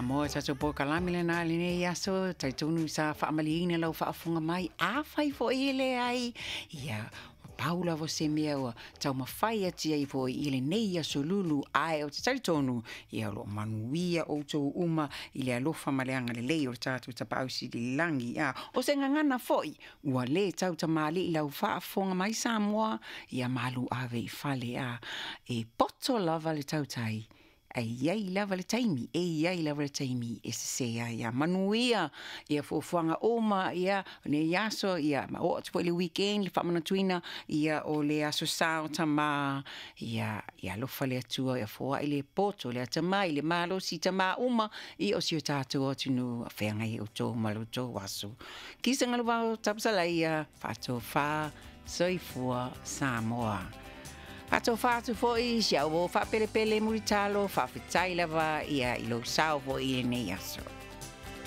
Samoa, tatou polokalame lena i lenei aso, talitonu sa faamalieina lau faafofoga mai. Afai foi e leai, ia, ua pau lava o se mea ua taumafai atu ai foi i lenei aso lulu, ae ou te talitonu, ia, o lo o manuia outou uma i le alofa ma le agalelei o le tatou Tapaau Sili i le lagi. A o se gagana foi ua lē tautamalii lau faafofoga mai Samoa, ia malu ave i fale, a e poto lava le tautai, e i ai lava le taimi, e i ai lava le taimi e sesē ai. Ia manuia ia fuafuaga uma ia lenei aso, ia ma oo atu foi i le weekend, le faamanatuina ia o le aso Sa o Tamā. Ia, ia alofa le Atua ia foai le poto, le atamai, le malosi i tamā uma ia o si o tatou atunuu. Feagai ai outou ma lo outou aso. Kisa galuvao tapasalaia faatofā soifua Samoa. Faatofa atu foi si au o faapelepele mulitalo, faafetai lava ia i lou sao foi i lenei aso.